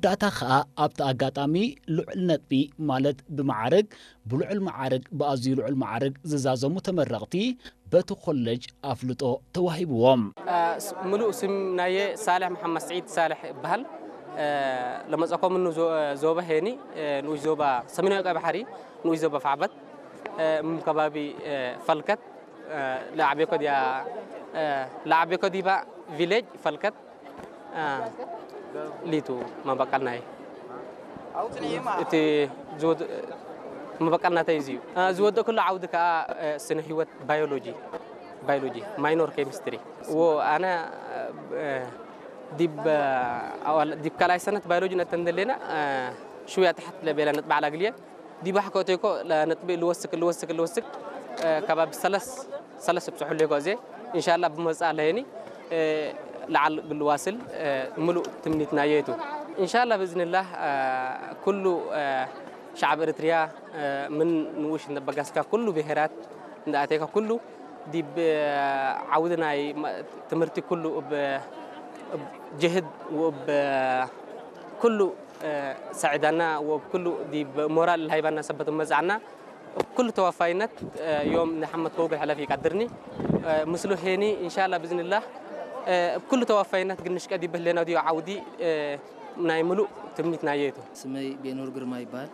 መወዳእታ ከኣ ኣብቲ ኣጋጣሚ ልዑል ነጥቢ ማለት ብመዓርግ ብልዑል መዓርግ ብኣዝዩ ልዑል መዓርግ ዝዛዘሙ ተመረቕቲ በቲ ኮለጅ ኣፍልጦ ተዋሂብዎም። ምሉእ ስም ናየ ሳልሕ መሓመድ ስዒድ ሳልሕ ይበሃል። ለመጸኮምኑ ዞበ ሄኒ ንኡሽ ዞባ ሰሜናዊ ቀይ ባሕሪ ንኡሽ ዞባ ፋዕበት እም ከባቢ ፈልከት ለዓቤኮ ዲያ ለዓቤኮ ዲባ ቪሌጅ ፈልከት ሊቱ መበቀልናይ እቲ መበቀልናተይ እዚ እዩ። ዝወደእኩሉ ዓውዲ ከዓ ስነ ህይወት ባዮሎጂ ባዮሎጂ ማይኖር ኬሚስትሪ ዎ ኣነ ዲብ ዲብ ካልኣይ ሰነት ባዮሎጂ ነተን ደሌና ሽውያ ተሓት ለቤላ ነጥቢ ዓላ ግልየ ዲባሕ ከእተይኮ ነጥቢ ልወስክ ልወስክ ልወስክ ከባቢ ሰለስ ሰለስ ብፅሑ ልኮ እዜ እንሻላ ብመፃ ለየኒ ለዓል ግልዋስል ምሉእ ትምኒትና የቱ እንሻላ ብእዝንላህ ኩሉ ሻዕብ ኤርትርያ ምን ንኡሽ እነበጋስካ ኩሉ ብሄራት እንዳኣተይካ ኩሉ ዲብ ዓውዲ ናይ ትምህርቲ ኩሉ ብ ጅህድ ወብ ኩሉ ሰዒዳና ወብ ኩሉ ዲብ ሞራል ሃይባና ሰበት መዛዕና ኩሉ ተዋፋይነት ዮም ንሓመድ ከውግል ሕለፍ ይቀድርኒ ምስሉ ሄኒ እንሻላ ብዝንላህ ኩሉ ተዋፋይነት ግንሽ ቀዲበህ ሌና ዲዮ ዓውዲ ናይ ምሉእ ትምኒት ናየ እቱ። ስመይ ቤኑር ግርማ ይበሃል።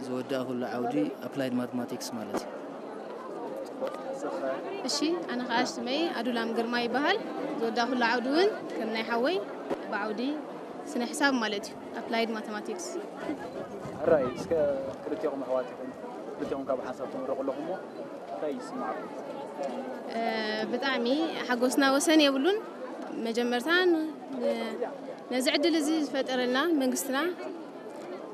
ዝወዳእኩሉ ዓውዲ ኣፕላይድ ማትማቲክስ ማለት እዩ። እሺ ኣነ ከዓ ሽመይ ኣዱላም ግርማ ይበሃል። ዝወዳእኩሉ ዓውዲ እውን ከም ናይ ሓወይ ብዓውዲ ስነ ሕሳብ ማለት እዩ ኣፕላይድ ማተማቲክስ። ሕራይ እስከ ክልቲኹም ኣሕዋት ኢኹም ክልቲኹም ካብ ሓንሳብ ትምረቑ ኣለኹም እንታይ ይስማዓኩም? ብጣዕሚ ሓጎስና ወሰን የብሉን። መጀመርታ ነዚ ዕድል እዚ ዝፈጠረልና መንግስትና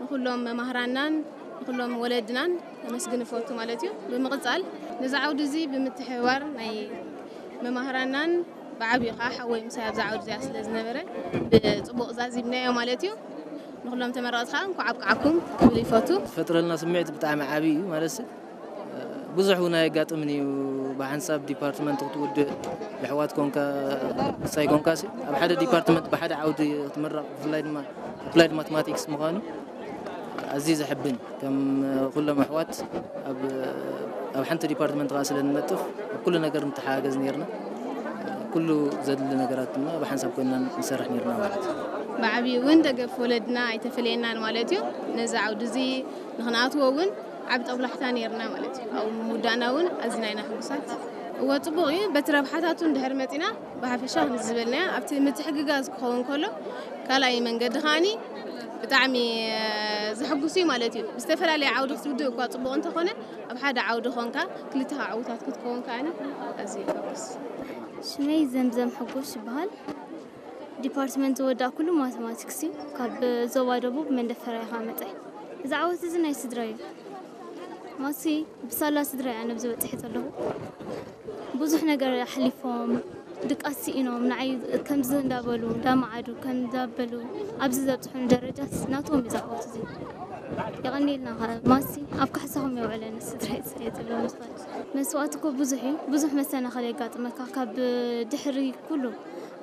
ንኩሎም መማህራናን ንኩሎም ወለድናን ከመስግን እፈቱ ማለት እዩ። ብምቕፃል ነዚ ዓውዲ እዚ ብምትሕብባር ናይ መማህራናን ብዓብዩ ከዓ ሓወይ ምሳይ ኣብዛ ዓውዲ እዚኣ ስለ ዝነበረ ብፅቡቕ ዛዚምናዮ ማለት እዩ። ንኩሎም ተመረቕቲ ከዓ እንኳዕ ኣብቅዓኩም ክብል ይፈቱ። ዝፈጥረልና ስምዒት ብጣዕሚ ዓብዪ እዩ ማለት ብዙሕ እውን ኣየጋጥምን እዩ። ብሓንሳብ ዲፓርትመንት ክትውድእ ብኣሕዋት ኮንካ ምሳይ ኮንካ ኣብ ሓደ ዲፓርትመንት ብሓደ ዓውዲ ክትምረቕ ብፍላይ ድማ ኣፕላይድ ማትማቲክስ ምዃኑ ኣዝዩ ዘሕብን ከም ኩሎም ኣሕዋት ኣብ ሓንቲ ዲፓርትመንት ከዓ ስለ ንነጥፍ ኣብ ኩሉ ነገር ንተሓጋገዝ ነርና። ኩሉ ዘድሊ ነገራት ድማ ብሓንሳብ ኮይና ንሰርሕ ነርና ማለት እዩ። ብዓብዩ እውን ደገፍ ወለድና ኣይተፈለየናን ማለት እዩ። ነዚ ዓውዲ እዚ ንክንኣትዎ እውን ዓቢ ጠብላሕታ ነይርና ማለት እዩ። ኣብኡ ምውዳእና እውን ኣዝና ኢና ሕጉሳት። እወ ጽቡቕ እዩ። በቲ ረብሓታቱ እንድሕር መጺና ብሓፈሻ ከምዚ ዝበልናዮ ኣብቲ ምትሕግጋዝ ክኸውን ከሎ ካልኣይ መንገዲ ከዓኒ ብጣዕሚ ዘሕጉስ እዩ ማለት እዩ። ብዝተፈላለየ ዓውዲ ክትውድእ እኳ ጽቡቕ እንተኾነ ኣብ ሓደ ዓውዲ ኾንካ ክልተኻ ዕውታት ክትከውን ከዓኒ ኣዝዩ የሐጉስ። ሽመይ ዘምዘም ሕጉሽ ይበሃል። ዲፓርትመንት ዝወዳእኩሉ ማተማቲክስ እዩ። ካብ ዞባ ደቡብ መንደፈራ ኢኻ መጸ። እዚ ዓወት እዚ ናይ ስድራ እዩ። ማሲ ብሳላ ስድራ እያ ነብዚ በጺሐ ዘለኹ። ብዙሕ ነገር ኣሕሊፎም ድቃስ ስኢኖም ንዓይ ከምዚ እንዳበሉ እንዳመዓዱ ከም እንዳበሉ ኣብዚ ዘብፅሑኒ ደረጃ ናቶም እዩ ዝዓወት እዚ። የቐንየልና ኸ ማሲ ኣብ ካሕሳኹም የውዕለኒ ስድራይ ስለ ዝብሎም ዝኽእል መስዋእቲ እኮ ብዙሕ እዩ። ብዙሕ መሰናኽል የጋጥመካ ካብ ድሕሪ ኩሉ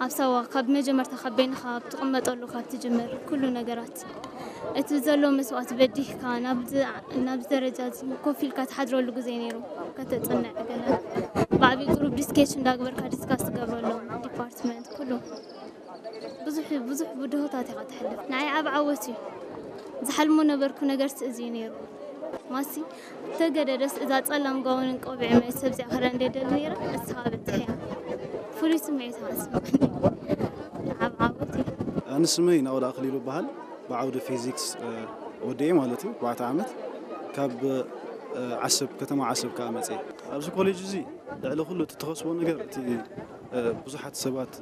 ኣብ ሳዋ ካብ መጀመርታ ካብ በይንኻ ኣብ ትቕመጠሉ ካብ ትጅምር ኩሉ ነገራት እቲ ዘሎ መስዋእቲ በዲህካ ናብዚ ናብዚ ደረጃ እዚ ኮፍ ኢልካ ትሓድረሉ ግዜ ነይሩ። ከተጽንዕ ገለ ብዓብዩ ግሩፕ ዲስኬሽን እንዳግበርካ ዲስካስ ትገብረሎም ዲፓርትመንት ኩሉ ብዙሕ ብዙሕ ብድሆታት ኢኻ ትሕልፍ። ንዓይ ዓብ ዓወት እዩ። ዝሓልሞ ነበርኩ ነገርሲ እዚ እዩ ነይሩ። ማሲ ተገደደስ እዛ ጸላም ጋውንን ቆቢዕ መ ሰብ እዚኣ ክዳ እንደ ደሊ ነይረ እስኻ በጽሕ እያ። ፍሉይ ስምዒት ኢኻ ስምዓኒ። ዓብ ዓወት እዩ። ኣነ ስመይ ናኦድ ኣኽሊሉ እበሃል። ብዓውዲ ፊዚክስ ወዲኤ ማለት እዩ ኣርባዕተ ዓመት ካብ ዓሰብ ከተማ ዓሰብ ከኣ መጽየ። ኣብዚ ኮሌጅ እዚ ልዕሊ ኩሉ እቲ ትኸስቦ ነገር እቲ ብዙሓት ሰባት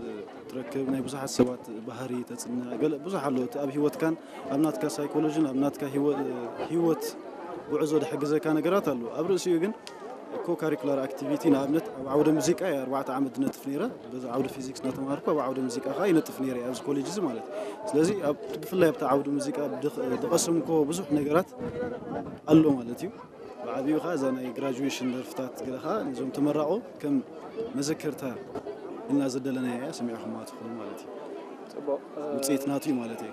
ትረክብ ናይ ብዙሓት ሰባት ባህሪ ተጽንዕ ገለ ብዙሕ ኣሎ እቲ ኣብ ህይወትካን ኣብ ናትካ ሳይኮሎጂን ኣብ ናትካ ህይወት ጉዕዞ ዝሕግዘካ ነገራት ኣሎ ኣብ ርእሲኡ ግን ኮ ካሪኩላር ኣክቲቪቲ ንኣብነት ኣብ ዓውደ ሙዚቃ እየ ኣርባዕተ ዓመት ዝነጥፍ ነይረ በዚ ዓውደ ፊዚክስ እናተምሃርኩ ኣብ ዓውደ ሙዚቃ ከዓ ይነጥፍ ነይረ ኣብዚ ኮሌጅ እዚ ማለት ስለዚ ብፍላይ ኣብቲ ዓውደ ሙዚቃ ዝቐሰምኮ ብዙሕ ነገራት ኣሎ ማለት እዩ ብዓብኡ ከዓ እዛ ናይ ግራጁዌሽን ደርፍታት ገለ ከዓ ነዞም ተመራቆ ከም መዘከርታ ኢልና ዘደለናያ እያ ሰሚዕኹማ ትኾኑ ማለት እዩ ውፅኢት ናቱ እዩ ማለት እዩ